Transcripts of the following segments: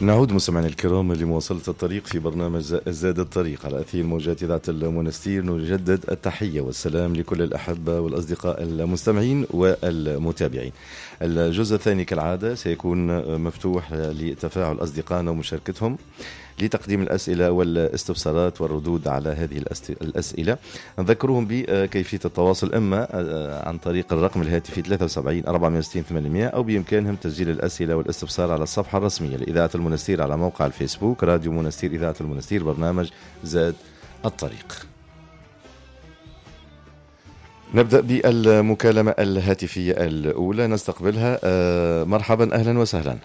نعود مستمعينا الكرام لمواصلة الطريق في برنامج زاد الطريق على أثير موجات إذاعة المنستير. نجدد التحية والسلام لكل الأحبة والأصدقاء المستمعين والمتابعين. الجزء الثاني كالعادة سيكون مفتوح لتفاعل أصدقائنا ومشاركتهم لتقديم الأسئلة والاستفسارات والردود على هذه الأسئلة. نذكرهم بكيفية التواصل، إما عن طريق الرقم الهاتفي 73 460 800، أو بإمكانهم تسجيل الأسئلة والاستفسار على الصفحة الرسمية لإذاعة المنستير على موقع الفيسبوك راديو منستير إذاعة المنستير، برنامج زاد الطريق. نبدأ بالمكالمة الهاتفية الأولى نستقبلها. مرحبا، أهلا وسهلا.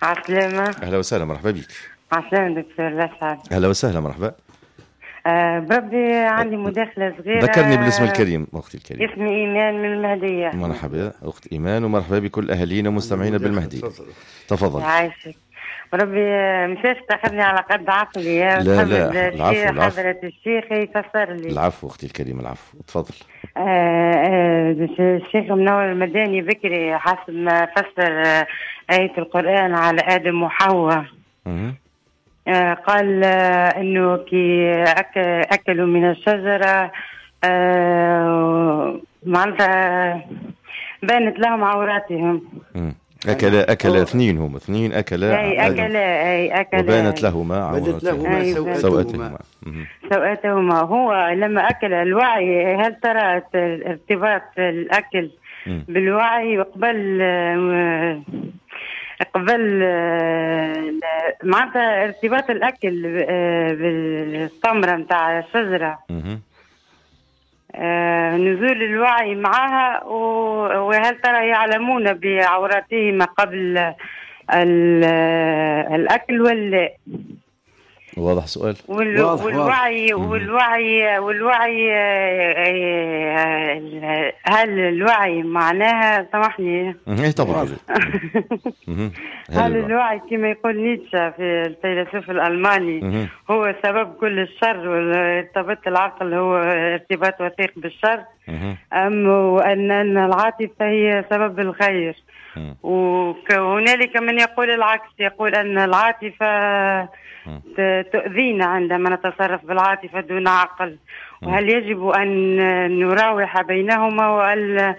عسلامة. أهلا وسهلا، مرحبا بك. عسلامة دكتور لسعد. أهلا وسهلا، مرحبا. بربي عندي مداخلة صغيرة. ذكرني بالاسم الكريم أختي الكريم. اسمي إيمان من المهدية. مرحبا أخت إيمان، ومرحبا بكل أهالينا ومستمعينا بالمهدية. تفضل. عايشك. بربي مشاش تاخذني على قد عقلي. لا لا، العفو العفو. حضرة الشيخ يفسر لي. العفو أختي الكريم، العفو، تفضل. الشيخ منور المداني بكري حسب ما فسر آية القرآن على آدم وحواء. قال انه كي اكلوا من الشجرة معناتها بانت لهم عوراتهم. اكل اثنين، هم اثنين اكلا، اي اكلا وبانت لهما عوراتهما، سوءاتهما. سوءاتهما. هو لما اكل الوعي، هل ترى ارتباط الاكل بالوعي قبل معناتها ارتباط الاكل بالثمره نتاع الشجرة، نزول الوعي معها، وهل ترى يعلمون بعوراتهما قبل الاكل ولا؟ واضح سؤال. والوعي والوعي والوعي، هل الوعي معناها، سامحني. ايه طبعا. هل الوعي كما يقول نيتشه في الفيلسوف الألماني هو سبب كل الشر، وارتباط العقل هو ارتباط وثيق بالشر، أم أن العاطفة هي سبب الخير؟ وهنالك من يقول العكس، يقول أن العاطفة تؤذينا عندما نتصرف بالعاطفة دون عقل. وهل يجب أن نراوح بينهما وأن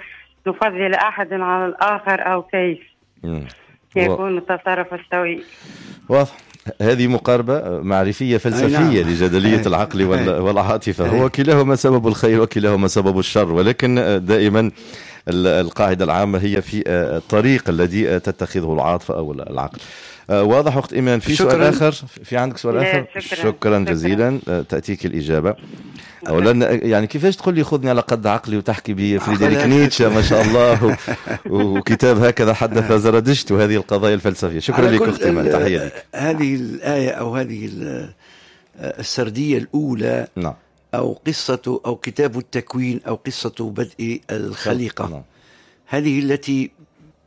نفضل أحد على الآخر، أو كيف يكون التصرف السوي؟ واضح. هذه مقاربة معرفية فلسفية لجدلية العقل والعاطفة. هو كلاهما سبب الخير وكلاهما سبب الشر، ولكن دائما القاعدة العامة هي في الطريق الذي تتخذه العاطفة أو العقل. واضح أخت إيمان. في سؤال آخر؟ في عندك سؤال آخر؟ شكرا جزيلا. تأتيك الإجابة. أولا يعني كيفاش تقول لي خذني على قد عقلي وتحكي بفريدريك نيتشه ما شاء الله وكتاب هكذا حدث زردشت وهذه القضايا الفلسفية. شكرا لك أختي إيمان، تحية لك. هذه الآية أو هذه السردية الأولى، نعم، أو قصة أو كتاب التكوين أو قصة بدء الخليقة، نعم، هذه التي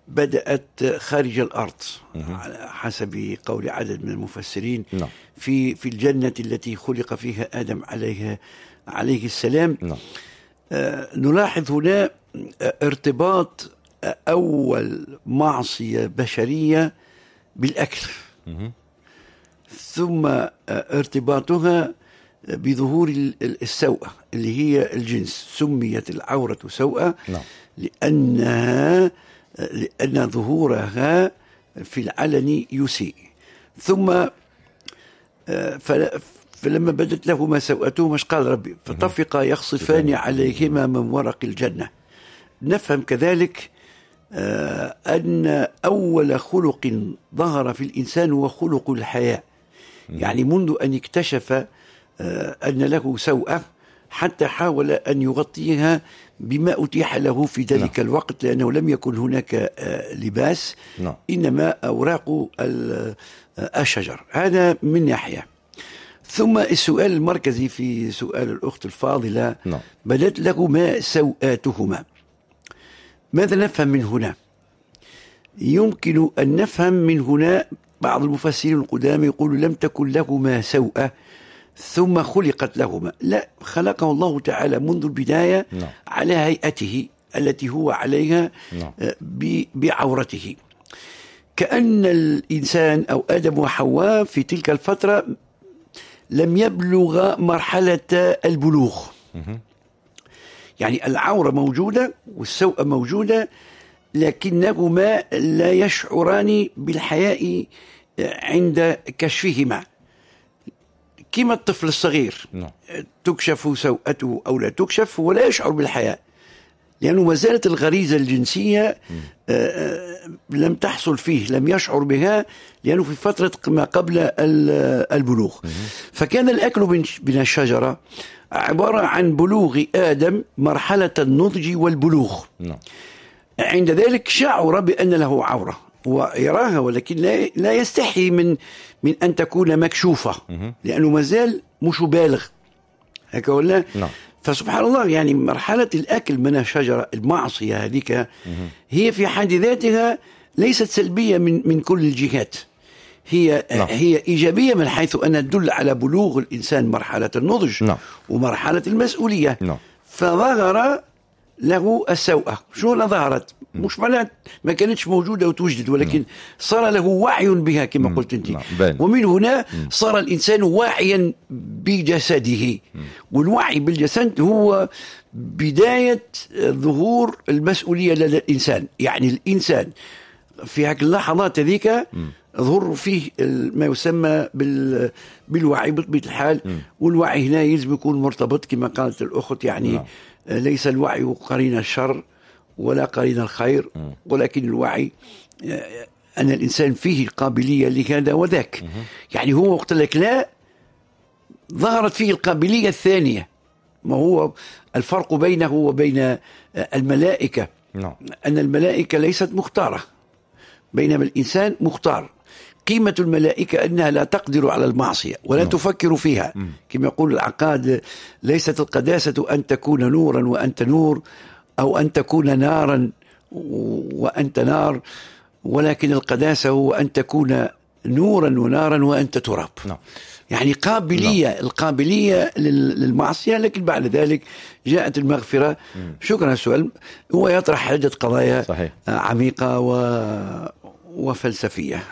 بدأت خارج الأرض على حسب قول عدد من المفسرين، نعم، في الجنة التي خلق فيها آدم عليه السلام. نعم. نلاحظ هنا ارتباط أول معصية بشرية بالأكل، ثم ارتباطها بظهور السوءة اللي هي الجنس. سميت العورة سوءة، نعم، لأن ظهورها في العلن يسيء. ثم فلما بدت لهما سوءتهما قال ربي فطفقا يخصفان عليهما من ورق الجنة. نفهم كذلك أن أول خلق ظهر في الإنسان هو خلق الحياة، يعني منذ أن اكتشف أن له سوءة حتى حاول أن يغطيها بما أتيح له في ذلك، نعم، الوقت، لأنه لم يكن هناك لباس، نعم، إنما أوراق الشجر. هذا من ناحية. ثم السؤال المركزي في سؤال الأخت الفاضلة، نعم، بدت لهما سوآتهما. ماذا نفهم من هنا؟ يمكن أن نفهم من هنا بعض المفسرين القدامى يقولوا لم تكن لهما سوءة ثم خلقت لهما. لا، خلقه الله تعالى منذ البداية، نعم، على هيئته التي هو عليها، نعم، بعورته. كأن الإنسان أو آدم وحواء في تلك الفترة لم يبلغ مرحلة البلوغ. يعني العورة موجودة والسوء موجودة، لكنهما لا يشعران بالحياء عند كشفهما، كما الطفل الصغير تكشف سوءته أو لا تكشف ولا يشعر بالحياء، لأنه ما زالت الغريزة الجنسية لم تحصل فيه، لم يشعر بها، لأنه في فترة ما قبل البلوغ. فكان الأكل من الشجرة عبارة عن بلوغ آدم مرحلة النضج والبلوغ. عند ذلك شعر بأن له عورة ويراها، ولكن لا يستحي من أن تكون مكشوفة، لأنه ما زال مش بالغ هكا ولا؟ فسبحان الله، يعني مرحلة الأكل من الشجرة، المعصية هذيك هي في حد ذاتها ليست سلبية من كل الجهات، هي هي إيجابية من حيث أنها تدل على بلوغ الإنسان مرحلة النضج ومرحلة المسؤولية. فظهر له السوءة. شو لا ظهرت؟ مش معناها ما كانتش موجودة وتوجد، ولكن صار له وعي بها كما قلت أنت. ومن هنا صار الإنسان واعيا بجسده، والوعي بالجسد هو بداية ظهور المسؤولية لدى الإنسان. يعني الإنسان في هذه اللحظات هذيك ظهر فيه ما يسمى بالوعي بطبيعة الحال. والوعي هنا يلزم يكون مرتبط كما قالت الأخت، يعني ليس الوعي قرين الشر ولا قرين الخير، ولكن الوعي أن الإنسان فيه القابلية لهذا وذاك. يعني هو وقت لك لا ظهرت فيه القابلية الثانية. ما هو الفرق بينه وبين الملائكة؟ أن الملائكة ليست مختارة، بينما الإنسان مختار. قيمة الملائكة أنها لا تقدر على المعصية ولا تفكر فيها. كما يقول العقاد: ليست القداسة أن تكون نورا وأنت نور، أو أن تكون نارا وأنت نار، ولكن القداسة هو أن تكون نورا ونارا وأنت تراب. يعني قابلية، القابلية للمعصية، لكن بعد ذلك جاءت المغفرة. شكرا. السؤال هو يطرح عدة قضايا عميقة وفلسفية،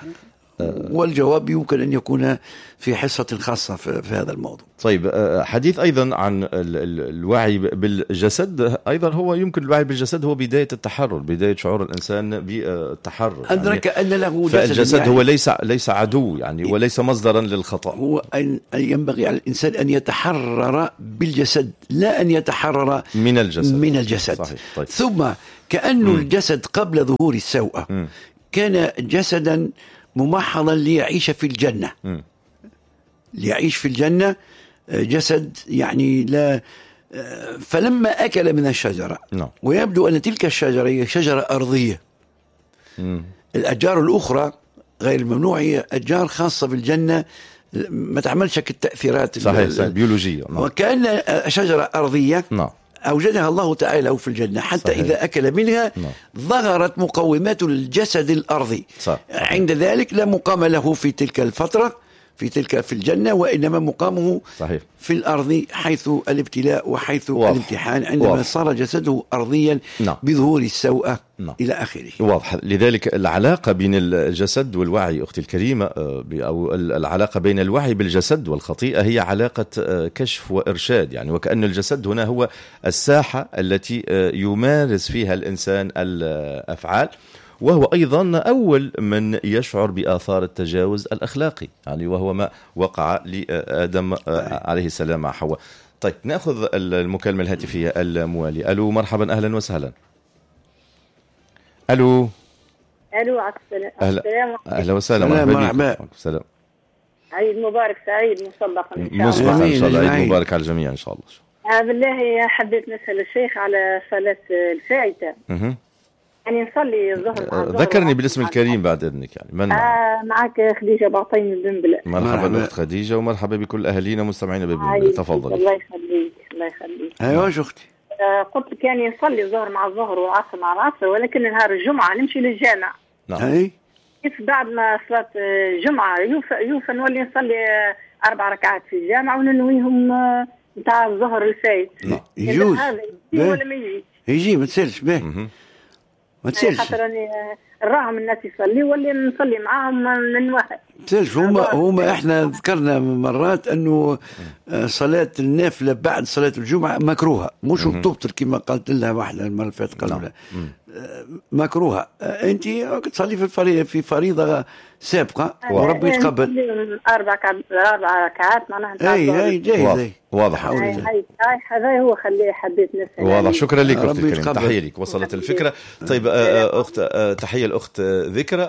والجواب يمكن أن يكون في حصة خاصة في هذا الموضوع. طيب، حديث أيضا عن الوعي بالجسد، أيضا هو يمكن الوعي بالجسد هو بداية التحرر، بداية شعور الإنسان بالتحرر. أدرك يعني أن له جسد، فالجسد يعني هو ليس عدو يعني، وليس مصدرا للخطأ. هو أن ينبغي على الإنسان أن يتحرر بالجسد، لا أن يتحرر من الجسد. من الجسد. صحيح. طيب. ثم كأن الجسد قبل ظهور السوء كان جسدا ممحضا ليعيش في الجنة. ليعيش في الجنة جسد يعني لا. فلما أكل من الشجرة، ويبدو أن تلك الشجرة هي شجرة أرضية. الأشجار الأخرى غير الممنوع هي أشجار خاصة بالجنة، ما تعملش التأثيرات. صحيح، بيولوجية. وكأن شجرة أرضية أوجدها الله تعالى في الجنة، حتى إذا أكل منها ظهرت مقومات الجسد الأرضي. عند ذلك لا مقام له في تلك الفترة في الجنة، وإنما مقامه في الأرض، حيث الابتلاء وحيث الامتحان، عندما صار جسده أرضيا بظهور السوء إلى آخره. واضح. لذلك العلاقة بين الجسد والوعي أختي الكريمة، أو العلاقة بين الوعي بالجسد والخطيئة، هي علاقة كشف وإرشاد، يعني وكأن الجسد هنا هو الساحة التي يمارس فيها الإنسان الأفعال، وهو أيضا أول من يشعر بآثار التجاوز الأخلاقي، يعني وهو ما وقع لآدم عليه السلام مع حواء. طيب، نأخذ المكالمة الهاتفية الموالية. ألو، مرحبا، أهلا وسهلا. ألو. ألو، السلام. أهلا وسهلا، مرحبا. السلام. عيد مبارك سعيد مسبقا إن شاء الله. مسبقا إن شاء الله، عيد مبارك على الجميع إن شاء الله. بالله حبيت نسأل الشيخ على صلاة الفائتة. يعني نصلي الظهر. ذكرني بالاسم الكريم بعد إذنك، يعني من معك خديجة بعطين بنبلة. مرحبا أخت خديجة، ومرحبا بكل أهالينا ومستمعينا ببنبلة. تفضل. الله يخليك، الله يخليك. أيوة أختي. قلت لك يعني نصلي الظهر مع الظهر والعصر مع العصر، ولكن نهار الجمعة نمشي للجامع. نعم. كيف بعد ما صلاة الجمعة يوفى نولي نصلي 4 ركعات في الجامع وننويهم نتاع الظهر الفايت. يجوز. ولا ما يجيش؟ يجي، ما تسالش به. ما تسالش، خاطر راني نراهم الناس يصلي واللي نصلي معاهم من واحد. تسالش. هما احنا ذكرنا مرات انه صلاة النافلة بعد صلاة الجمعة مكروهة، مش تبطل كما قالت لها واحدة المرة اللي فاتت، قالوا لها مكروهة. انت تصلي في فريضة سابقه وربي يتقبل. اربع ركعات معناها. اي جاهز. واضح. هذا هو خليه حبيت نسال. واضح. شكرا لك اختي الكريمة، تحية لك، وصلت الفكرة. طيب اخت، تحية الاخت ذكرى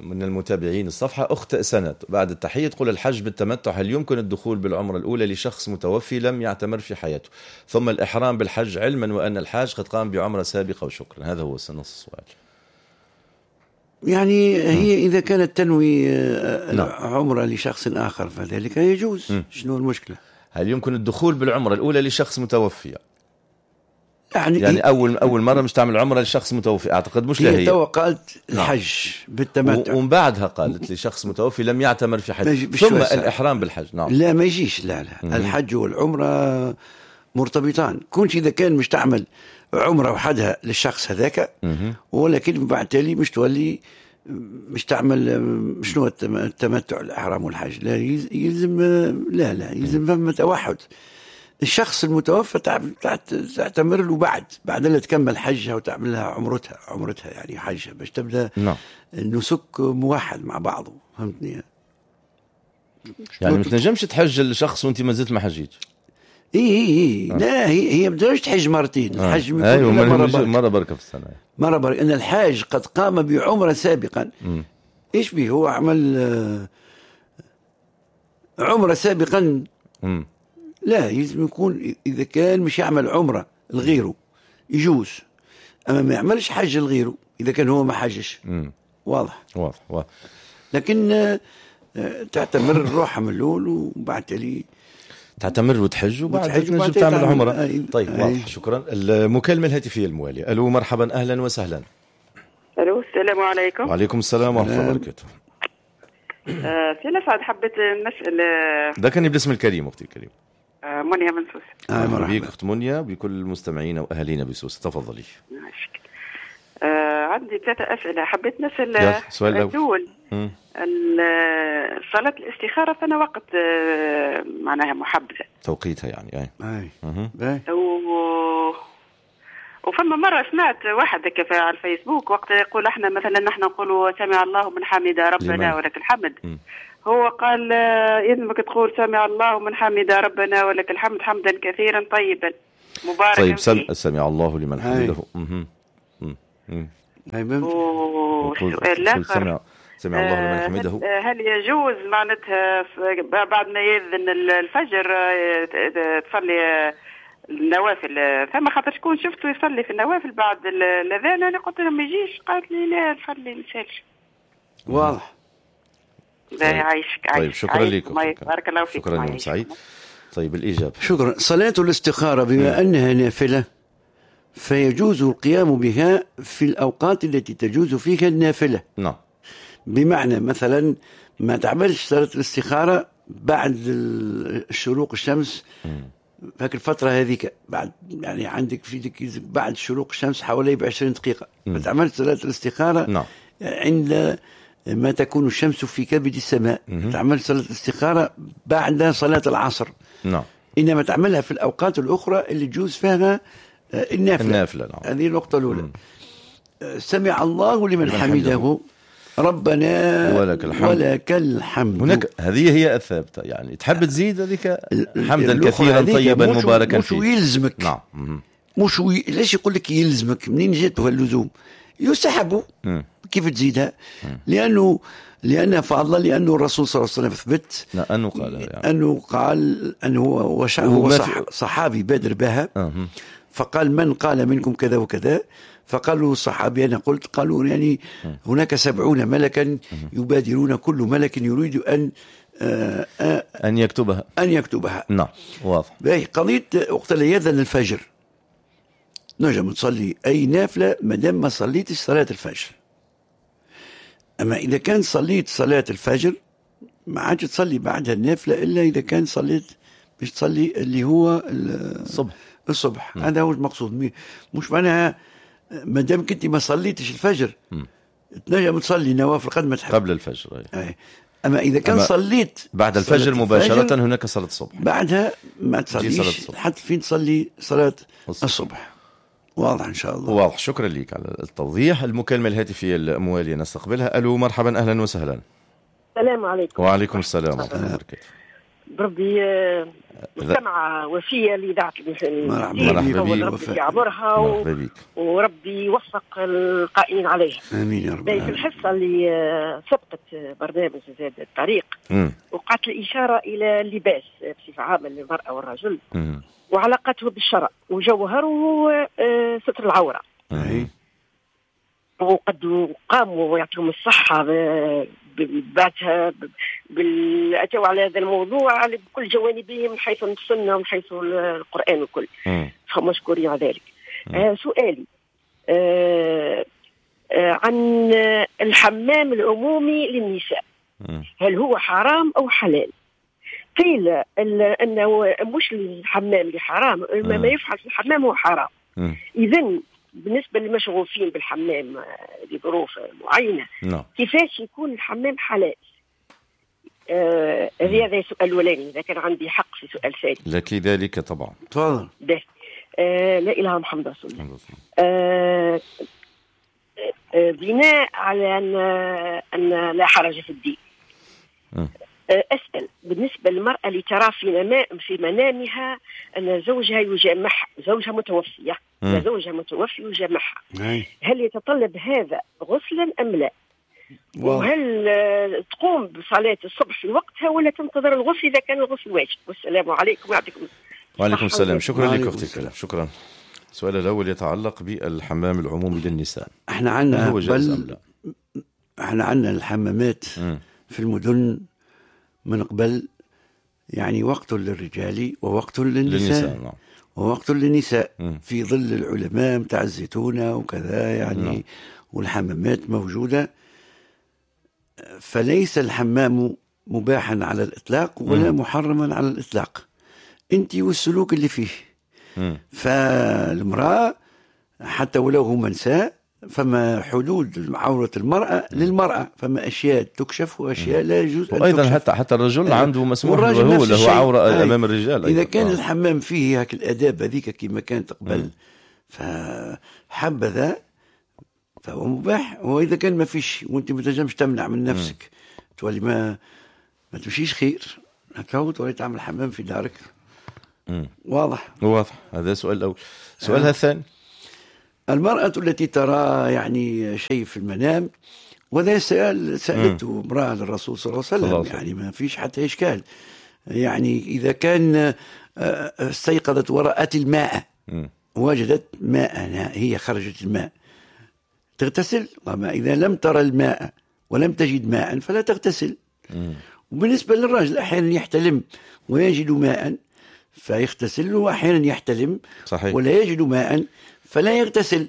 من المتابعين الصفحة. اخت سند بعد التحية تقول: الحج بالتمتع هل يمكن الدخول بالعمرة الاولى لشخص متوفي لم يعتمر في حياته ثم الاحرام بالحج، علما وان الحاج قد قام بعمره سابقه؟ وشكرا. هذا هو نص السؤال. يعني هي إذا كانت تنوي عمرة لشخص آخر فذلك يجوز. شنو المشكلة؟ هل يمكن الدخول بالعمرة الأولى لشخص متوفي؟ يعني أول مرة مش تعمل عمرة لشخص متوفي، أعتقد مش لها. هي تو قالت الحج بالتمتع، ومن بعدها قالت لشخص متوفي لم يعتمر في حج ثم الإحرام بالحج. نعم. لا ما يجيش. لا لا. الحج والعمرة مرتبطان. كنت إذا كان مش تعمل عمرة وحدها للشخص هذاك، ولكن بعد تالي مش تولي مش تعمل شنو التمتع الإحرام والحج. لا يلزم، لا لا يلزم فما توحد. الشخص المتوفى تعتمر له بعد اللي تكمل حجها وتعمل لها عمرتها يعني حجها، باش تبدا النسك موحد مع بعضه. فهمتني؟ يعني ما تنجمش تحج الشخص وانت ما زلت ما حجيت. اي لا، هي ما تقدرش تحج مرتين. الحج أيوة، مرة بركة في السنة، مرة بركة. ان الحاج قد قام بعمره سابقا. ايش به هو عمل عمره سابقا؟ لا، يلزم يكون اذا كان مش يعمل عمره لغيره يجوز، اما ما يعملش حج لغيره اذا كان هو ما حجش. واضح. واضح. لكن تعتمر روحها من الاول وبعد تالي تعتمر وتحج وبعد تنجم تعمل عمره. طيب واضح. شكرا. المكالمة الهاتفية الموالية. الو مرحبا، اهلا وسهلا. الو السلام عليكم. وعليكم السلام ورحمة الله وبركاته. سي لسعد، حبيت نسال. ده كان بالاسم الكريم اختي الكريم. منيا من سوسة. مرحبا بك اخت منيا، بكل المستمعين واهالينا بسوسه. تفضلي. عندي 3 اسئلة حبيت نسال. السؤال الاول، صلاة الاستخارة فأنا وقت معناها محبذة توقيتها يعني. أي. وفما مرة سمعت واحد كيف على الفيسبوك وقت يقول احنا مثلا نحن نقولوا سمع الله من حمد ربنا ولك الحمد. هو قال يلزمك تقول سمع الله من حمد ربنا ولك الحمد حمدا كثيرا طيبا مباركا. طيب سمع الله لمن حمده. والسؤال الآخر، سمع الله لمن حمده، هل يجوز معناتها بعد ما يأذن الفجر تصلي النوافل؟ فما خاطر شكون شفته يصلي في النوافل بعد الأذان، أنا قلت لهم ما يجيش، قالت لي لا نصلي ما نسالش. واضح. يعيشك. طيب شكرا لك، بارك الله فيك. شكرا يوم سعيد. طيب الإجابة. شكرا. صلاة الاستخارة بما أنها نافلة فيجوز القيام بها في الأوقات التي تجوز فيها النافلة. نعم. بمعنى مثلا ما تعملش صلاة الاستخارة بعد شروق الشمس، فاك الفترة هذيك بعد، يعني عندك في بعد شروق الشمس حوالي 20 دقيقة. ما تعملش صلاة الاستخارة. نعم. عند ما تكون الشمس في كبد السماء. تعمل صلاة الاستخارة بعد صلاة العصر. نعم. إنما تعملها في الأوقات الأخرى اللي تجوز فيها النافلة. نعم. هذه النقطة الأولى. سمع الله لمن حمده ربنا ولك الحمد. ولك الحمد. هناك هذه هي الثابتة، يعني تحب تزيد هذيك حمدا كثيرا طيبا مباركا فيه. مش يلزمك. نعم. مش ليش يقول لك يلزمك؟ منين جات اللزوم؟ يستحب. كيف تزيدها؟ لأنه فضل، لأنه الرسول صلى الله عليه وسلم ثبت أنه قال، يعني أنه قال أنه هو صحابي بادر بها. فقال من قال منكم كذا وكذا، فقالوا الصحابي أنا قلت، قالوا يعني هناك 70 ملكا يبادرون، كل ملك يريد أن يكتبها، أن يكتبها. نعم واضح. قضية وقت اللي يأذن الفجر نجم تصلي أي نافلة ما دام ما صليتش صلاة الفجر. أما إذا كان صليت صلاة الفجر ما عادش تصلي بعدها النافلة إلا إذا كان صليت باش تصلي اللي هو الصبح. الصبح. هذا هو المقصود. مش معناها ما دام كنت ما صليتش الفجر تنجم تصلي نوافل قد ما تحب قبل الفجر. أي. أما إذا كان صليت بعد الفجر مباشرة هناك صلاة الصبح، بعدها ما تصليش حتى فين تصلي صلاة الصبح. واضح إن شاء الله. واضح، شكرا لك على التوضيح. المكالمة الهاتفية الموالية نستقبلها. ألو مرحبا، أهلا وسهلا. السلام عليكم. وعليكم السلام ورحمة الله وبركاته. بربي مستمعة وفية لإذاعة مرحبا بك، ربي يعبرها وربي يوفق القائمين عليها. آمين يا رب. في الحصة اللي سبقت برنامج زاد الطريق وقعت الإشارة إلى اللباس بصفة عامة للمرأة والرجل وعلاقته بالشرع وجوهره ستر العورة. وقد قاموا ويعطيهم الصحة بعدها أتوا على هذا الموضوع بكل جوانبه من حيث السنة ومن حيث القرآن وكل، فمشكورين على ذلك. سؤالي عن الحمام العمومي للنساء، هل هو حرام أو حلال؟ قيل أنه مش الحمام اللي حرام، ما يفعل في الحمام هو حرام. إذن بالنسبة للمشغوفين بالحمام لظروف معينة، كيفاش يكون الحمام حلال؟ هذا السؤال الأولاني. إذا كان عندي حق في سؤال ثاني. لك ذلك طبعا. تفضل. لا إله محمد رسول الله. بناء على أن لا حرج في الدين، أسأل بالنسبة للمرأة اللي ترى في منامها أن زوجها يجامعها، زوجها متوفية، زوجها متوفي يجامعها، هل يتطلب هذا غسلا أم لا؟ وهل تقوم بصلاة الصبح في وقتها ولا تنتظر الغسل إذا كان الغسل واجب؟ والسلام عليكم ويعطيكم. وعليكم السلام. شكرا لك أختي الكريم. شكرا. السؤال الأول يتعلق بالحمام العمومي للنساء. احنا عندنا بل احنا عندنا الحمامات في المدن من قبل، يعني وقت للرجال ووقت للنساء. نعم. ووقت للنساء في ظل العلماء متاع الزيتونة وكذا يعني. نعم. والحمامات موجودة، فليس الحمام مباحا على الإطلاق ولا محرما على الإطلاق، أنت والسلوك اللي فيه. فالمرأة حتى ولو هم نساء فما حدود عورة المرأة للمرأة، فما أشياء تكشف وأشياء لا يجوز أن وأيضا تكشف. حتى الرجل عنده مسموح له له عورة أمام الرجال. إذا كان الحمام فيه هاك الآداب هذيك كما كانت قبل فحبذا فهو مباح، وإذا كان ما فيش وأنت ما تنجمش تمنع من نفسك تولي ما تمشيش خير هكا، تولي تعمل حمام في دارك. واضح. واضح. هذا السؤال الأول. سؤالها الثاني، المرأة التي ترى يعني شيء في المنام، وهذا سألته امرأة للرسول صلى الله عليه وسلم، يعني ما فيش حتى إشكال. يعني إذا كان استيقظت ورأت الماء، وجدت ماء، هي خرجت الماء، تغتسل. وما إذا لم ترى الماء ولم تجد ماء فلا تغتسل. وبالنسبة للرجل أحيانا يحتلم ويجد ماء فيغتسل، وأحيانا يحتلم صحيح. ولا يجد ماء فلا يغتسل.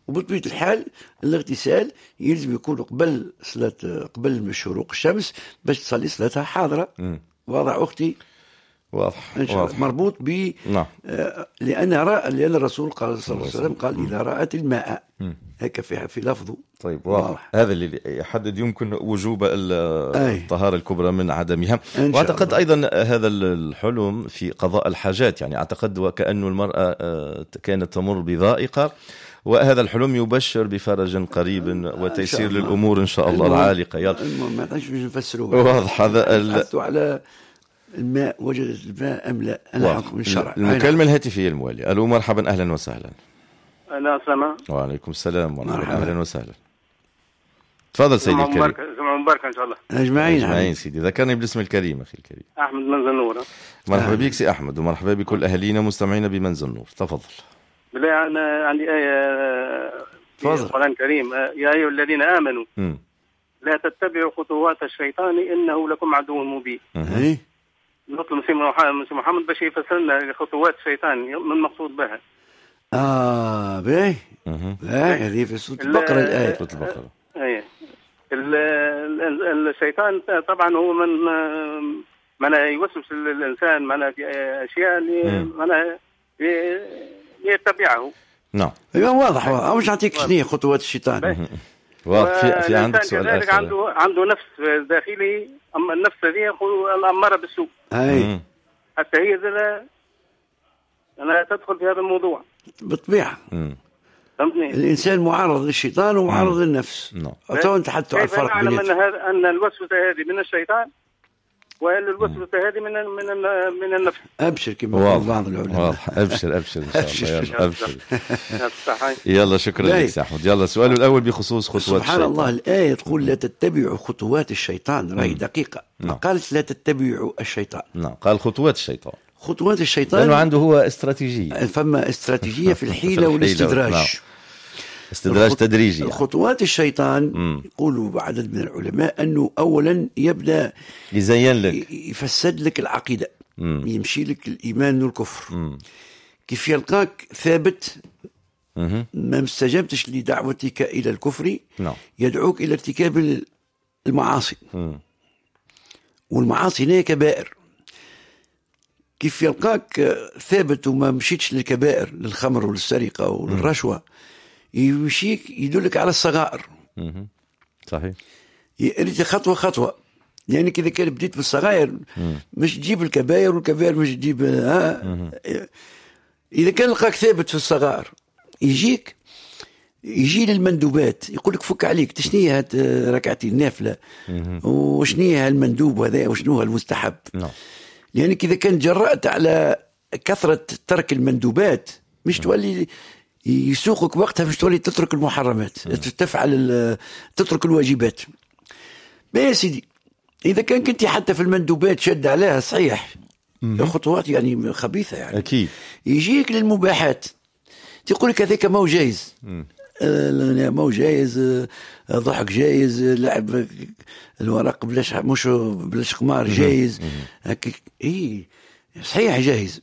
وبطبيعة الحال الاغتسال يلزم يكون قبل صلاة، قبل شروق الشمس باش تصلي صلاتها حاضرة. واضح أختي؟ واضح. واضح. مربوط ب نعم. لأن الرسول قال صلى الله عليه وسلم قال إذا رأت الماء، هكا في لفظه. طيب واضح. هذا اللي يحدد يمكن وجوب الطهارة الكبرى من عدمها. وأعتقد أيضا هذا الحلم في قضاء الحاجات، يعني أعتقد وكأن المرأة كانت تمر بضائقة، وهذا الحلم يبشر بفرج قريب وتيسير للأمور إن شاء الله العالقة. يلا ما نعرفش نفسروه. واضح. هذا على الماء، وجدت الماء أم لا، أنا حكم الشرع. المكالمة الهاتفية الموالية. ألو مرحبا، أهلا وسهلا. أهلا وسهلا. وعليكم السلام ورحمة الله، أهلا وسهلا. تفضل سيدي الكريم. جمعة مباركة إن شاء الله. أجمعين. أجمعين سيدي. ذكرني بالاسم الكريم أخي الكريم. أحمد منزل نور. مرحبا بك سي أحمد، ومرحبا بكل أهالينا مستمعينا بمنزل نور. تفضل. بالله أنا عندي آية في القرآن الكريم، يا أيها الذين آمنوا لا تتبعوا خطوات الشيطان إنه لكم عدو مبين. نطلب سي محمد باش يفسر لنا خطوات الشيطان من المقصود بها. باهي. هذه في سورة البقرة الآية. سورة البقرة. اي الشيطان طبعا هو من يوسوس الإنسان معناها في أشياء اللي معناها يتبعه. نعم. ايوه واضح، مش نعطيك شنو خطوات الشيطان. واضح. في عندك سؤال آخر؟ عنده نفس داخلي، اما النفس هذه الأمارة بالسوء. اي حتى هي أنا تدخل في هذا الموضوع بالطبيعة. فهمتني؟ الإنسان معرض للشيطان ومعرض للنفس. تو نتحدثوا على الفرق بيناتهم. كيف نعلم أن الوسوسة هذه من الشيطان وأن الوسوسة هذه من من من النفس؟ أبشر كما قال بعض العلماء. واضح. أبشر أبشر إن شاء الله. يلا أبشر. يلا شكرا لك سي أحمد. يلا سؤاله الأول بخصوص خطوات الشيطان. سبحان الله، الآية تقول لا تتبعوا خطوات الشيطان، راهي دقيقة. ما قالت لا تتبعوا الشيطان. نعم، قال خطوات الشيطان. خطوات الشيطان لأنه عنده هو استراتيجية. فما استراتيجية في الحيلة والاستدراج. نعم. استدراج تدريجي يعني. خطوات الشيطان يقولوا عدد من العلماء أنه أولا يبدأ يزين لك، يفسد لك العقيدة، يمشي لك الإيمان والكفر. كيف يلقاك ثابت ما استجبتش لدعوتك إلى الكفر، يدعوك إلى ارتكاب المعاصي. والمعاصي هي كبائر. كيف يلقاك ثابت وما مشيتش للكبائر، للخمر وللسرقة وللرشوة، يمشيك يدلك على الصغائر. صحيح. خطوة خطوة، لأنك يعني إذا كان بديت بالصغائر مش تجيب الكبائر، والكبائر مش تجيب. إذا كان لقاك ثابت في الصغائر يجيك يجي للمندوبات، يقول لك فك عليك، تشنيها هاد ركعتين نافلة، وشنيها المندوب هذا، وشنو المستحب. لأنك إذا كان جرأت على كثرة ترك المندوبات مش تولي يسوقك وقتها، مش تولي تترك المحرمات، تفعل تترك الواجبات. ما يا سيدي إذا كان كنت حتى في المندوبات شد عليها صحيح، خطوات يعني خبيثة يعني. أكيد. يجيك للمباحات، تقول لك هذاك ما هو جايز، ما هو جايز، ضحك جايز، لعب الورق بلاش، مش بلاش قمار جايز، اي صحيح جايز،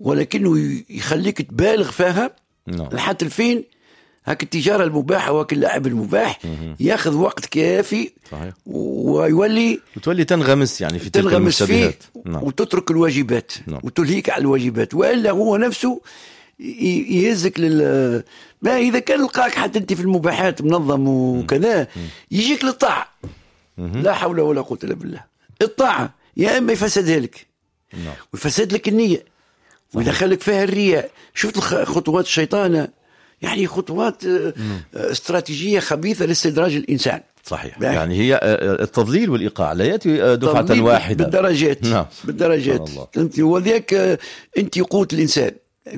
ولكنه يخليك تبالغ فيها لحد الفين. هاك التجارة المباحة وهاك اللعب المباح ياخذ وقت كافي. صحيح. ويولي وتولي تنغمس يعني في تلك المشتبهات، وتترك الواجبات. وتلهيك على الواجبات، والا هو نفسه يهزك لل ما إذا كان لقاك حتى أنت في المباحات منظم وكذا، يجيك للطاعة. لا حول ولا قوة إلا بالله. الطاعة يا إما يفسدها لك، ويفسد لك النية، ويدخلك فيها الرياء. شفت خطوات الشيطان، يعني خطوات استراتيجية خبيثة لاستدراج الإنسان. صحيح. يعني هي التضليل والإيقاع لا يأتي دفعة واحدة، بالدرجات. بالدرجات. أنت وذاك أنت قوت الإنسان،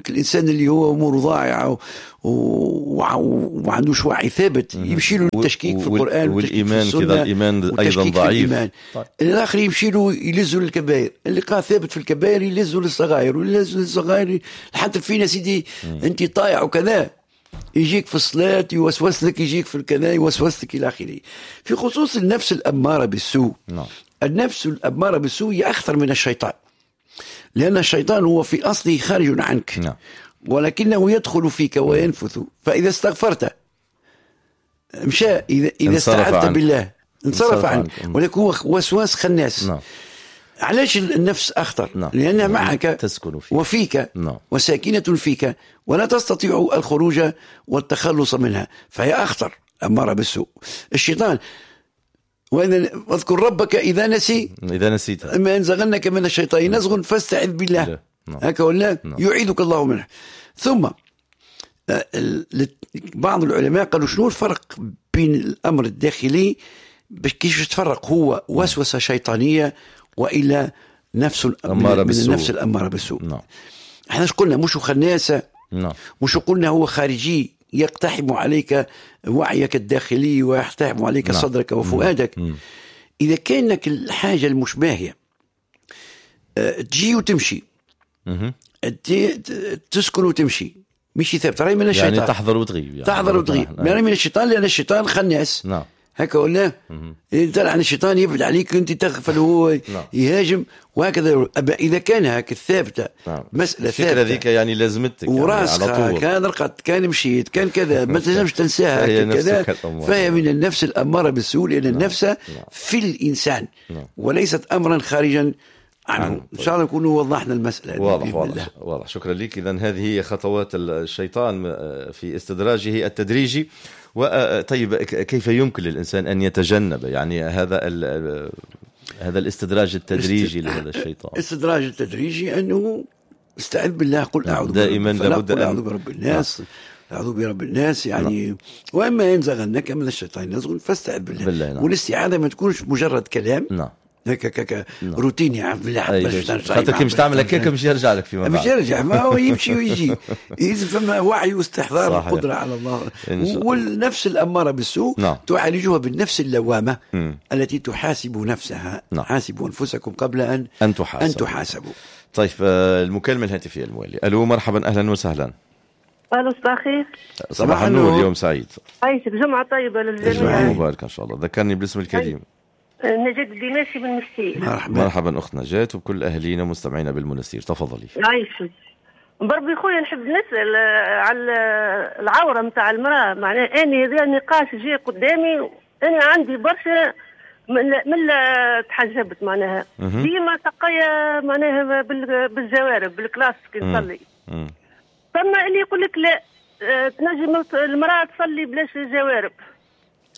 الإنسان اللي هو أموره ضائعة وما عندوش وعي ثابت، يمشي له التشكيك في القرآن والإيمان كذا، الإيمان أيضا ضعيف. طيب. الآخر يمشي له يلزه للكبائر، اللي قال ثابت في الكبائر يلزه للصغائر، ويلزه للصغائر لحتى فينا سيدي أنت طايع وكذا، يجيك في الصلاة يوسوس لك، يجيك في الكذا يوسوس لك إلى آخره. في خصوص النفس الأمارة بالسوء، النفس الأمارة بالسوء هي أخطر من الشيطان، لأن الشيطان هو في أصله خارج عنك، ولكنه يدخل فيك وينفث. فإذا استغفرت مشى، إذا استعذت بالله انصرف عنك، ولكن هو وسواس خناس. علاش النفس أخطر؟ لأنها معك تسكن فيك وفيك وساكنة فيك، ولا تستطيع الخروج والتخلص منها، فهي أخطر، أمارة بالسوء. الشيطان واذكر ربك إذا نسي، إذا نسيت، إما ينزغنك من الشيطان نزغ فاستعذ بالله. هكا ولا يعيدك الله منه. ثم بعض العلماء قالوا شنو الفرق بين الأمر الداخلي، باش كيفاش تفرق هو وسوسة شيطانية وإلى نفس من النفس الأمارة بالسوء. احنا ايش قلنا؟ مش خناسة، مش قلنا هو خارجي يقتحم عليك وعيك الداخلي ويقتحم عليك صدرك وفؤادك. إذا كانك الحاجة المشباهية تجي وتمشي، تسكن وتمشي، مش ثابت، راهي من الشيطان. يعني تحضر وتغيب، يعني تحضر وتغيب، راهي من الشيطان، لأن الشيطان خناس. هكا ولا طلع عن الشيطان يبعد عليك، انت تغفل وهو يهاجم وهكذا. اذا كان هكا الثابتة مسالة ثابتة هذيك يعني لازمتك يعني على طول، كان رقدت كان مشيت كان كذا، ما تنجمش تنساها كذا، فهي من النفس الامارة بالسوء، لان النفس في الانسان وليست امرا خارجا عنه. إن شاء الله نكونوا وضحنا المسألة. واضح واضح واضح. شكرا لك. إذن هذه هي خطوات الشيطان في استدراجه التدريجي. وطيب كيف يمكن للإنسان أن يتجنب يعني هذا الاستدراج التدريجي لهذا الشيطان؟ الاستدراج التدريجي أنه استعذ بالله، قل أعوذ دائما لابد أن أعوذ برب الناس، أعوذ برب الناس يعني. وإما ينزغنك من الشيطان نزغ فاستعذ بالله. نعم. والاستعاذة ما تكونش مجرد كلام. نعم. هكا روتيني يعني بالله، خاطر كي مش تعمل هكاك مش يرجع لك فيما بعد، مش يرجع، ما هو يمشي ويجي. يلزم فما وعي واستحضار القدرة على الله. والنفس الأمارة بالسوء نعم. تعالجها بالنفس اللوامة التي تحاسب نفسها. نعم. حاسبوا أنفسكم قبل أن تحاسبوا. طيب المكالمة الهاتفية الموالية. ألو مرحبا، أهلا وسهلا. ألو صباح الخير. صباح النور، يوم سعيد. عايشك، جمعة طيبة للجميع. جمعة مباركة إن شاء الله. ذكرني بالاسم الكريم. نجاة الدماشي من المنستير. مرحبا. مرحبا أخت نجاة وكل أهلينا مستمعينا بالمنستير، تفضلي. عايشك بربي خويا، نحب نسأل على العورة متاع المرأة. معناها أنا هذا النقاش جاي قدامي، أنا عندي برشا من تحجبت معناها ديما تقيا معناها بالجوارب بالكلاس كي نصلي. ثم اللي يقول لك لا تنجم المرأة تصلي بلاش جوارب.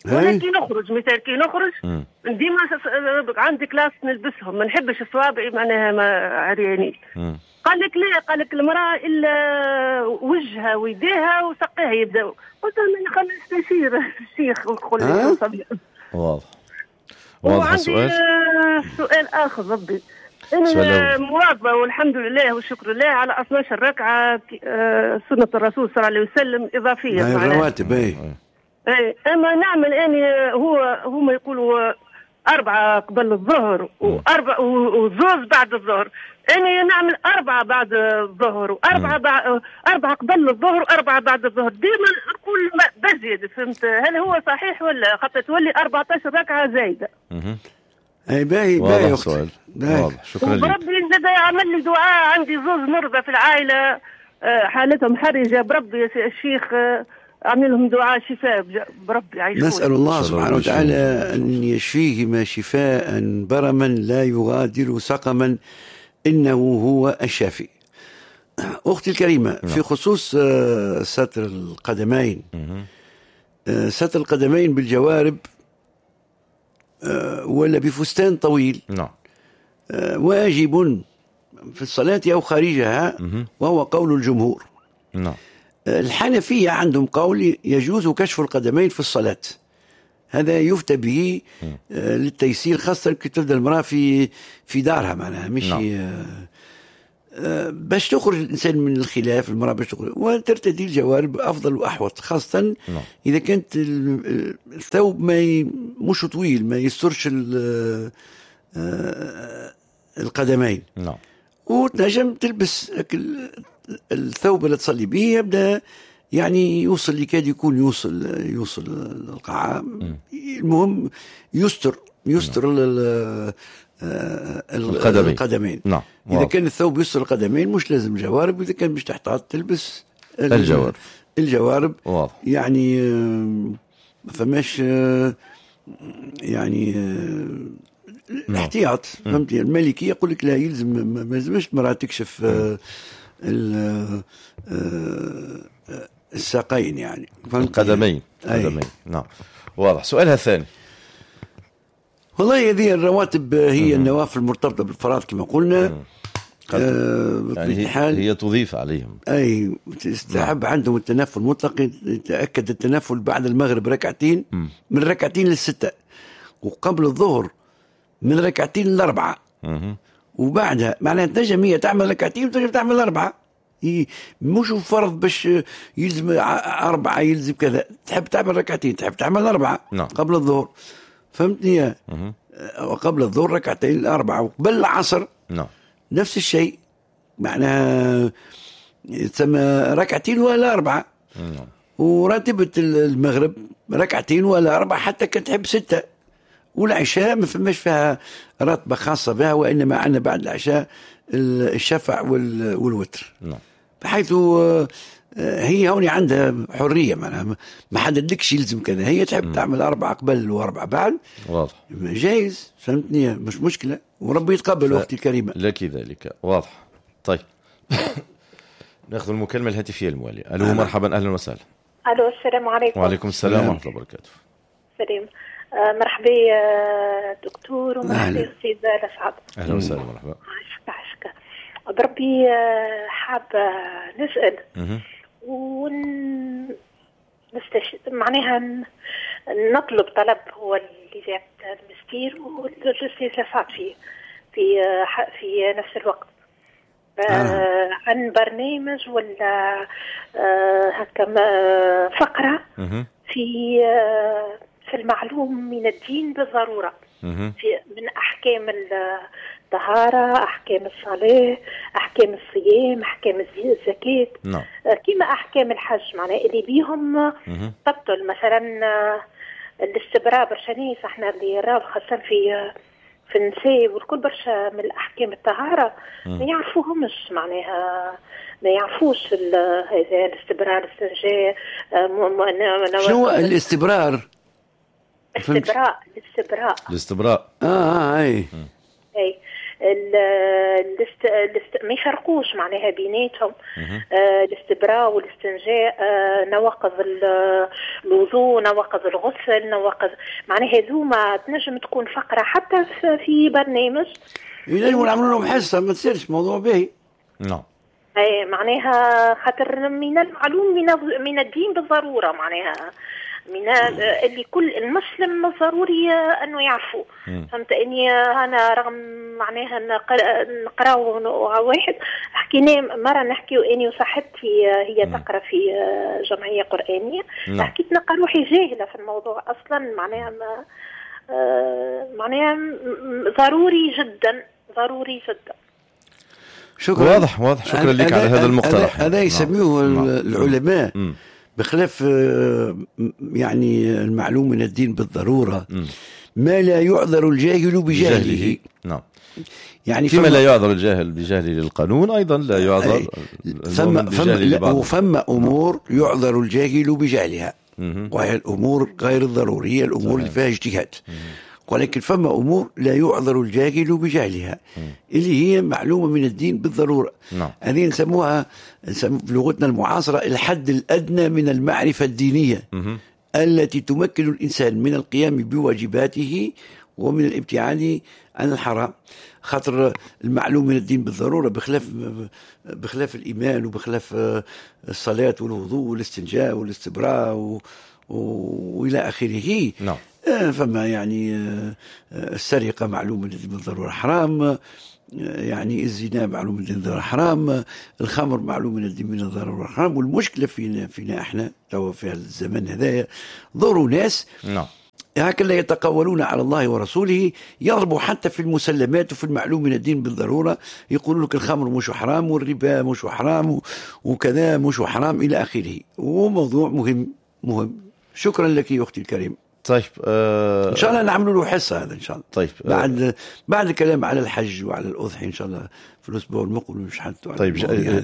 وانا كي نخرج مثال كي نخرج ديما عندي كلاس نلبسهم، ما نحبش صوابعي معناها ما عريانين. قال لك لا، قال لك المرأة إلا وجهها ويديها وسقيها يبداو. قلت لهم خلينا نستشير الشيخ ونقول له. واضح واضح. السؤال سؤال آخر ربي. أنا مواظبة والحمد لله والشكر لله على 12 ركعة سنة الرسول صلى الله عليه وسلم إضافية. الرواتب أي. أما نعمل أنا هو هما يقولوا 4 قبل الظهر وأربعة وزوز بعد الظهر. أنا نعمل 4 بعد الظهر وأربعة بعد 4 قبل الظهر و4 بعد الظهر. ديما نقول بزيد، فهمت؟ هل هو صحيح ولا خاطر تولي 14 ركعة زايدة؟ أي باهي باهي أختي. واضح، شكرا لك. بربي زاد عمل لي دعاء، عندي زوز مرضى في العائلة حالتهم حرجة، بربي الشيخ عمل لهم دعاء شفاء بربي عايشون. نسأل الله سبحانه وتعالى أن يشفيهما شفاء برما لا يغادر سقما، إنه هو الشافي. أختي الكريمة، في خصوص ستر القدمين، ستر القدمين بالجوارب ولا بفستان طويل واجب في الصلاة أو خارجها، وهو قول الجمهور. الحنفية عندهم قول يجوز كشف القدمين في الصلاة، هذا يفتى به للتيسير، خاصة كي تبدأ المرأة في دارها معناها مش باش تخرج الإنسان من الخلاف، المرأة باش تخرج وترتدي الجوارب أفضل وأحوط، خاصة إذا كانت الثوب ما مش طويل ما يسترش القدمين. وتنجم تلبس الثوب اللي تصلي به يبدأ يعني يوصل، يكاد يكون يوصل القاعة. المهم يستر القدمين. إذا كان الثوب يستر القدمين مش لازم جوارب، وإذا كان مش تحتاط تلبس الجوارب. واضح. يعني ما فماش يعني الاحتياط، فهمتي؟ المالكية يقول لك لا يلزم، ما يلزمش المرأة تكشف الساقين يعني القدمين. نعم واضح. سؤالها الثاني. والله هذه الرواتب هي النوافل المرتبطة بالفرائض كما قلنا. يعني هي تضيف عليهم. أي تستحب عندهم التنفل المطلق. يتأكد التنفل بعد المغرب ركعتين، من ركعتين ل6، وقبل الظهر من ركعتين ل4، وبعدها معناها تنجم هي تعمل ركعتين وتنجم تعمل 4. مش فرض باش يلزم 4 يلزم كذا، تحب تعمل ركعتين تحب تعمل 4 قبل الظهر، فهمتني؟ وقبل الظهر ركعتين 4، وقبل العصر نفس الشيء، معناها تسمى ركعتين ولا 4. وراتبة المغرب ركعتين ولا 4 حتى كان تحب 6. والعشاء ما فماش فيها راتبة خاصة بها، وإنما عندنا بعد العشاء الشفع والوتر. بحيث هي هوني عندها حرية، معناها ما حددلكش يلزم كذا، هي تحب تعمل 4 قبل و4 بعد، واضح، جايز، فهمتني، مش مشكلة، وربي يتقبل أختي الكريمة. لك ذلك، واضح. طيب ناخذ المكالمة الهاتفية الموالية. ألو، مرحبا، أهلا وسهلا. ألو، السلام عليكم. وعليكم السلام ورحمة الله وبركاته. سلام، مرحبا دكتور، ومرحبا أستاذ لسعد. أهلا وسهلا، مرحبا. عشك عشك بربي، حابة نسأل معناها نطلب طلب هو اللي جات المستير والأستاذ لسعد فيه في في نفس الوقت، عن برنامج ولا هكا فقرة في المعلوم من الدين بالضرورة، في من أحكام الطهارة، أحكام الصلاة، أحكام الصيام، أحكام الزكاة، كما أحكام الحج، معناها اللي بيهم تبطل مثلا الاستبراء. برشا ناس احنا اللي راو خاصة في النساء والكل برشا من الأحكام الطهارة ما يعرفوهمش، معناها ما يعرفوش هذا الاستبراء، الاستنجاء. شنو الاستبرار؟ الاستبراء، الاستبراء، الاستبراء. اي اي ما يفرقوش معناها بيناتهم. الاستبراء والاستنجاء، نواقض الوضوء، نواقض الغسل، نواقض، معناها هذوما تنجم تكون فقرة حتى في برنامج ينجموا نعملوا لهم حصة، ما تصيرش موضوع باهي. نعم، اي معناها خاطر من المعلوم من الدين بالضرورة، معناها من اللي كل المسلم ضروري انه يعرفه. فهمت اني انا رغم معناها نقراو واحد حكينا مرة، نحكي اني وصاحبتي هي تقرا في جمعية قرانية، حكيت نلقى روحي جاهله في الموضوع اصلا، معناها معناها ضروري جدا، ضروري جدا. شكرا. واضح، واضح. شكرا لك على هذا المقترح. هذا يسميه العلماء بخلاف يعني المعلوم من الدين بالضرورة ما لا يعذر الجاهل بجهله. نعم، يعني فيما لا يعذر الجاهل بجهله للقانون أيضا لا يعذر وفما أمور يعذر الجاهل بجهلها، وهي الأمور غير الضرورية، الأمور اللي فيها اجتهاد. ولكن فما أمور لا يعذر الجاهل بجهلها اللي هي معلومة من الدين بالضرورة. هذه نسموها بلغتنا المعاصرة الحد الأدنى من المعرفة الدينية التي تمكن الإنسان من القيام بواجباته ومن الابتعاد عن الحرام. خاطر المعلوم من الدين بالضرورة بخلاف الإيمان وبخلاف الصلاة والوضوء والاستنجاء والاستبراء وإلى آخره. نعم. فما يعني السرقة معلوم من الدين بالضرورة حرام، يعني الزنا معلوم من الدين بالضرورة حرام، الخمر معلوم من الدين بالضرورة حرام. والمشكلة فينا احنا تو في الزمن هذايا ظهروا ناس نعم هكذا يتقولون على الله ورسوله، يضربوا حتى في المسلمات وفي المعلوم من الدين بالضرورة، يقولوا لك الخمر مش حرام والربا مش حرام وكذا مش حرام إلى آخره. وموضوع مهم مهم. شكرا لك يا أختي الكريم. طيب ان شاء الله نعملوا له حصة هذا ان شاء الله. طيب بعد الكلام على الحج وعلى الاضحية ان شاء الله في الاسبوع المقبل مش حد. طيب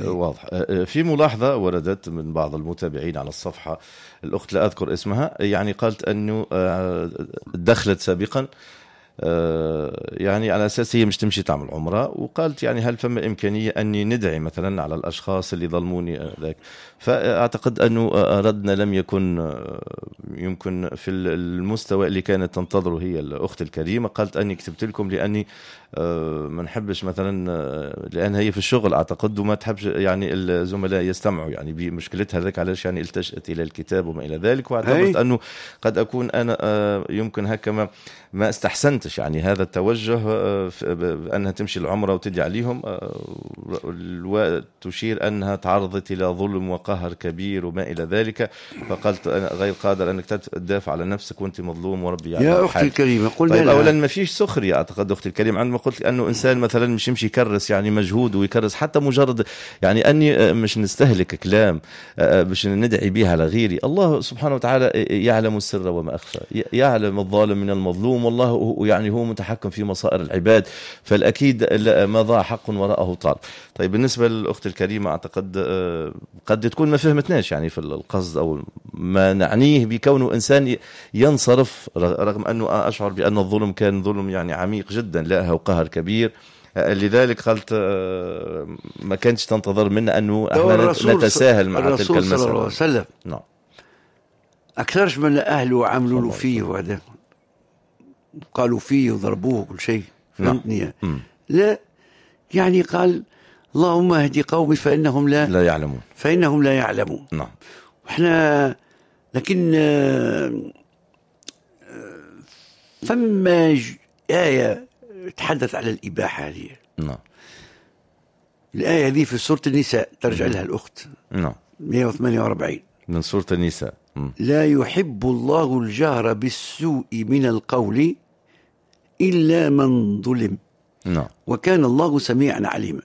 واضح. في ملاحظة وردت من بعض المتابعين على الصفحة، الاخت لا اذكر اسمها، يعني قالت انه دخلت سابقا يعني على اساس هي مش تمشي تعمل عمره، وقالت يعني هل فما امكانية اني ندعي مثلا على الاشخاص اللي ظلموني ذاك. فاعتقد انه ردنا لم يكن يمكن في المستوى اللي كانت تنتظره هي الاخت الكريمة. قالت اني كتبت لكم لاني ما نحبش مثلا، لان هي في الشغل اعتقد وما تحبش يعني الزملاء يستمعوا يعني بمشكلتها ذاك، علاش يعني التجأت الى الكتاب وما الى ذلك. واعتبرت انه قد اكون انا يمكن هكا ما استحسنتش يعني هذا التوجه بأنها تمشي العمرة وتدعي عليهم، وتشير أنها تعرضت إلى ظلم وقهر كبير وما إلى ذلك. فقالت أنا غير قادر أنك تدافع على نفسك وأنت مظلوم وربي يعني يا أختي الكريمة. قلنا طيب أولا ما فيش سخرية أعتقد أختي الكريمة عندما قلت أنه إنسان مثلا مش يمشي يكرس يعني مجهود ويكرس حتى مجرد يعني أني مش نستهلك كلام باش ندعي بها على غيري. الله سبحانه وتعالى يعلم السر وما أخفى، يعلم الظالم من المظلوم، والله يعني هو متحكم في مصائر العباد، فالأكيد ما ضاع حق وراءه طالب. طيب بالنسبة للأخت الكريمة أعتقد قد تكون ما فهمتناش يعني في القصد أو ما نعنيه بكونه إنسان ينصرف، رغم أنه أشعر بأن الظلم كان ظلم يعني عميق جدا لها وقهر كبير، لذلك قالت ما كانش تنتظر منا أنه احنا نتساهل مع تلك المسألة. الرسول صلى الله عليه وسلم نعم أكثرش من أهله عملوا له فيه وهذا، قالوا فيه وضربوه كل شيء، فهمتني؟ نعم. لا يعني قال اللهم اهدي قومي فإنهم لا يعلمون، فإنهم لا يعلمون. نعم. وإحنا لكن فما آية تحدث على الإباحة هذه. نعم. الآية هذه في سورة النساء ترجع لها الأخت. نعم. 148 من سورة النساء. لا يحب الله الجهر بالسوء من القول إلا من ظلم. نعم. وكان الله سميعا عليما.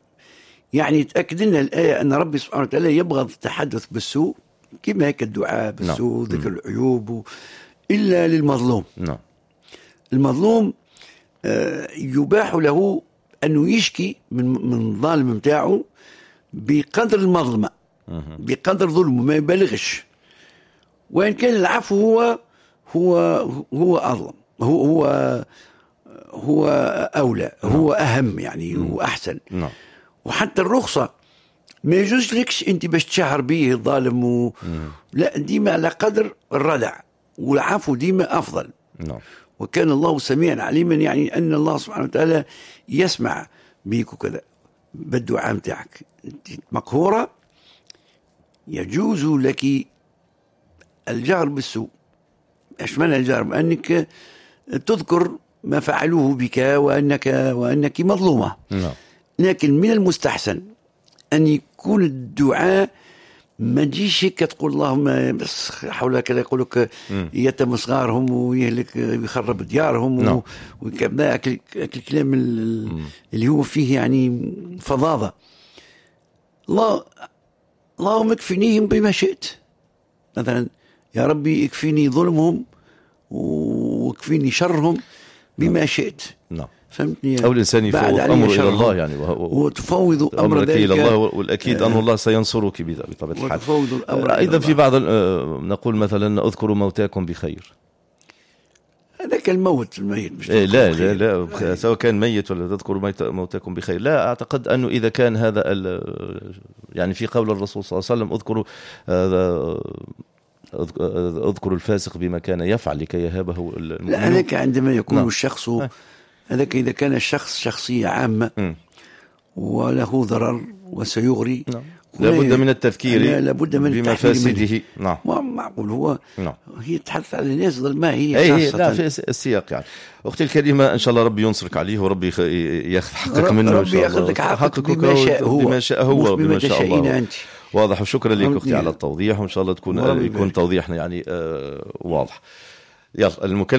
يعني تأكد لنا الآية أن ربي سبحانه وتعالى يبغض التحدث بالسوء، كما هيك الدعاء بالسوء، نعم. ذكر العيوب، إلا للمظلوم. نعم. المظلوم يباح له أنه يشكي من الظالم متاعه بقدر المظلمة، بقدر ظلمه، ما يبالغش. وإن كان العفو هو هو هو أظلم، هو هو هو أولى، هو أهم يعني، وأحسن. نعم. وحتى الرخصة ما يجوز لكش أنت باش تشهر به الظالم لا، ديما على قدر الردع، والعفو ديما أفضل. نعم. وكان الله سميعا عليما، يعني أن الله سبحانه وتعالى يسمع بيك وكذا بالدعاء متاعك. أنت مقهورة، يجوز لك الجهر بالسوء. ايش معنى الجهر؟ أنك تذكر ما فعلوه بك وأنك مظلومة. نعم. لكن من المستحسن أن يكون الدعاء ما تجيش هيك تقول اللهم بس حول كذا، يقول لك يتم صغارهم ويهلك ويخرب ديارهم. نعم. وكذا الكلام اللي هو فيه يعني فظاظة. اللهم اكفنيهم بما شئت، مثلا يا ربي اكفيني ظلمهم واكفيني شرهم بما شئت. نعم. فهمتني؟ أو الإنسان يفوض أمره إلى الله يعني، وتفوض أمر ذلك إلى الله، والأكيد أن الله سينصرك بطبيعة الحال. وتفوض الأمر أيضا في بعض نقول مثلا اذكروا موتاكم بخير. هذاك الموت الميت مش لا لا لا، سواء كان ميت ولا تذكروا موتاكم بخير. لا أعتقد أنه إذا كان هذا يعني في قول الرسول صلى الله عليه وسلم اذكروا الفاسق بما كان يفعل لكي يهابه المؤمنون. لا، هذاك عندما يكون نعم. الشخص هذاك إذا كان الشخص شخصية عامة وله ضرر وسيغري، نعم. لابد من التفكير، لابد من بمفاسده. نعم. معقول هو. نعم. هي تحدث على الناس ما هي خاصة. لا، في السياق يعني. أختي الكريمة إن شاء الله ربي ينصرك عليه وربي ياخذ حقك منه. ربي ياخذ لك حقك بما شاء هو، بما شاء هو، بما شاء الله. أنت. واضح. وشكرا لك أختي على التوضيح، وإن شاء الله يكون توضيحنا يعني واضح. يلا المكلف.